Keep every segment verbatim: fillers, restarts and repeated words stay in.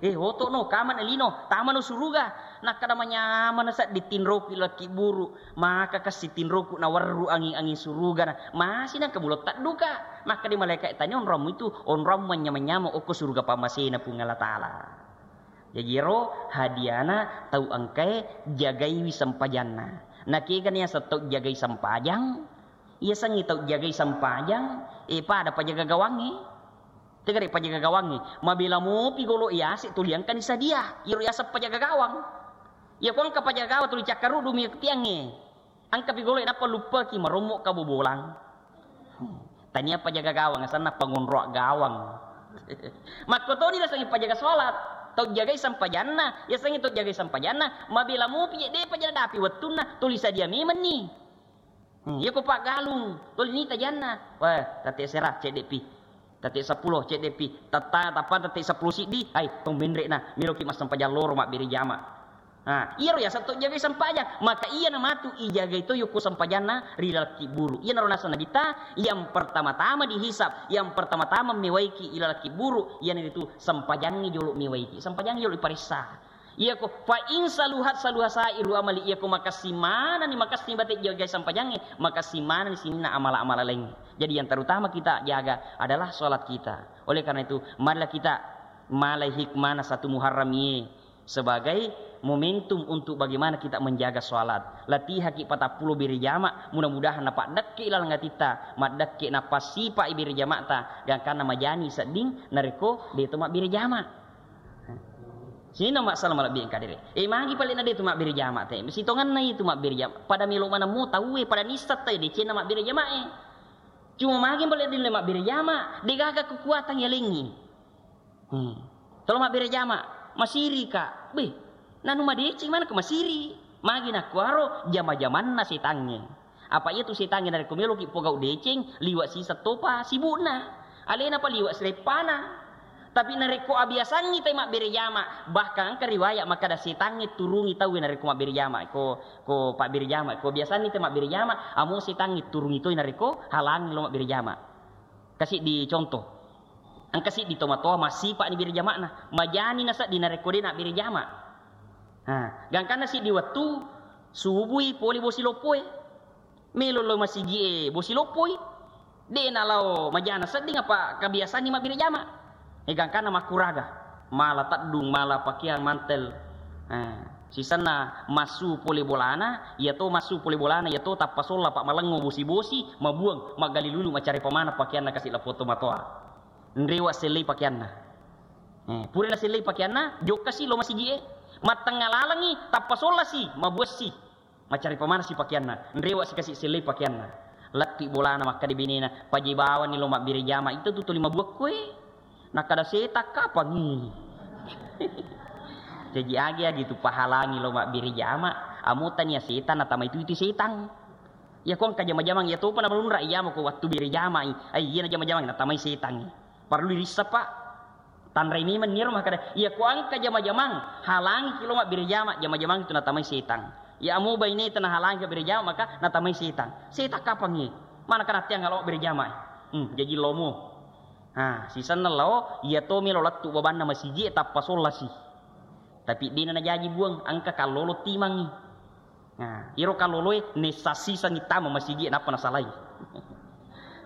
Eh, oto no, kamana lino, tamano suruga. Nakkada manyamana seddi tinroku ilakki buru, maka kasi tinroku nawerru anging-anging suruga na. Masi nangka mulo tadduka. Makkada malaikat tani onrommu itu, onrommu manyama-nyama okko suruga pamasena Puang Allah Ta'ala. Jaji ero hadiana tau engkae jagaiwi sempajanna. Nakega niaseng tau jagai sempajang, Iyasengngi tau jagai sempajang, eh, pada pajaga gawangnge. Tegare pajaga gawangnge, mabela mopi golo iyase tuli engkani sadia. Iyaro yaseng pajaga gawang. Iya ko engka pajaga gawang tuli cakkaruddu mi tiangnge. Engkapi golo nappa luppaki marommo kabobolang. Hmm. Tania pajaga gawang, asanna pangonroa gawang. Makkotoni nasengngi pajaga sholat. Tau jagai sempajanna, yasengngi tau jagai sempajanna, mabela mopi je, depa je nadapi wettunna, tuli sadia memenni. Hmm, iya ko paggalung, tuli nita janna. Wah, tette sera, ceddepi. Tette seppulo, ceddepi. Tetta-, tappa tette seppulo siddi, ai, tong menre na, meloki massempajang loro mabbere jama. Ha, iyaro yaseng to jagai sempajang. Maka iyana matu ijagai to yokko sempajanna ri laleng kibburu. Iyanaro naseng Nabitta, yang pertama-tama dihisab, yang pertama-tama mewaiki ilaleng kibburu, iyanaritu sempajangngi jolo mewaiki. Sempajangngi jolo iparessa. Iyako, fa in saluhat saluha sairu amali, iyako makessing manani, makessing bate jagai sempajangnge, makessing manani sininna amala-amala laingnge. Jadi yang terutama kita jaga adalah sholat kita. Oleh karena itu, marilah kita malai hikmana satu Muharram iye sebagai momentum untuk bagaimana kita menjaga sholat. Latihaki patappulo bere jama, mudah-mudahan napaddekke ilaleng atitta, maddekke napasipa bere jamata, gangkanna majani sedding narekko deto mabbere jama. Sininna masalah malebbi engka dere. Eh, magi pale na de tu mabbere jama te. Sitonganna itu mabbere jama. Pada melo manammu tauwe, pada nisseng te decenna mabbere jama e. Cuma magi pale dille mabbere jama, de gaga kekuatan yalengi. Hmm. Tolo mabbere jama, masiri ka. Beh, nanu madeceng mana ke masiri. Magi nakuaro jama-jamanna setangnge. Apa iya tu setangnge narekko meloki pogau deceng, liwa siseng topa sibukna. Alena pa liwa sileppana. Tapi narekko abiasangngi tai mabbere jama, bahkan engka riwayat makkada setangnge turungi tauwe narekko mabbere jama, ko, ko pabbere jama, ko biasanni tai mabbere jama, amo setangnge turungi toi narekko halangi lo mabbere jama. Kasiddi contoh. Engka siddi tomatoa massipa'ni bere jama'na, majani nasedding narekko de nabbere jama. Ha, gangkanna siddi wettu subui pole bosi loppoe. Melo lao masigi'e bosi loppoi. De nalao majana sedding apa kabiasanni mabbere jama. E gangkanna makkuraga. Mala teddung, mala pakeang mantel. Ha, sisenna massu pole bolana, iyato massu pole bolana, iyato tappa solla pa malengngo bosi-bosi, mabuang, maggali lulu macare pamana pakeanna kasi lappo tomatoa. Nrewa sellei pakeanna. Eh, pura nasellei pakeanna, jokkasi lo masigi'e. Mattengnga lalengngi, tappa sollasi, mabuassi. Macari pamanasi pakeanna, nrewa sikasi sellei pakeanna. Latti bolana makkada benena, pajebawanni lo mabbere jama, itu tu tuli mabuakkoe. Nakkada setang kapangi. Jaji agi-agi tu pahalangi lo mabbere jama, amo tania setang natamai tu itu setang. Iya ko engka jama-jamang iya topa namalunra iyamo ko wattu bere jamai. Ai iya na jama-jamang natamai setangngi. Parellu irisseng, Pak. Tanrai memeng niro makkada, iya ko engka jama-jamang, halangi ki lo mabbere jama, jama-jamang itu natamai setang. Iya amo baineta nahalangi mabbere jama, maka natamai setang. Setang kapangngi? Mana karatteang lo mabbere jama? Hmm, jaji lomo. Ha, sisenna lao, iya to melo lettu babanna masigi tappa sollasi. Tapi dena najaji buang, engka kallolo timangngi. Nah, iro kaloloe nessa sisangi tama masigi nappa nasalai.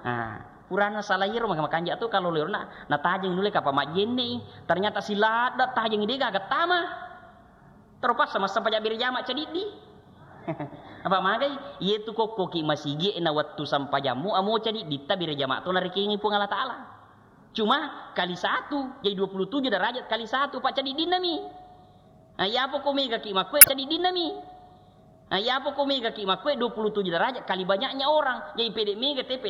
Nah, purana salai iro maka makanja tu kalolo iro na, natajeng nulle kapa majjenne i. Ternyata siladda tajeng de gaga tama. Terpaksa massempajang bere jama cadiddi. Apa magai? Iyetu kokkoki masigi na wettu sempajammu amo cadiddi ta bere jama to narekengi Puang Allah Ta'ala. Cuma kali satu, jadi dua puluh tujuh derajat kali satu, Pak, cadiddinna mi. Nah, iya apa ko mega ki makkue cadiddinna mi. Nah, iya apa ko mega ki makkue dua puluh tujuh derajat kali banyaknya orang. Jadi pede mega tepe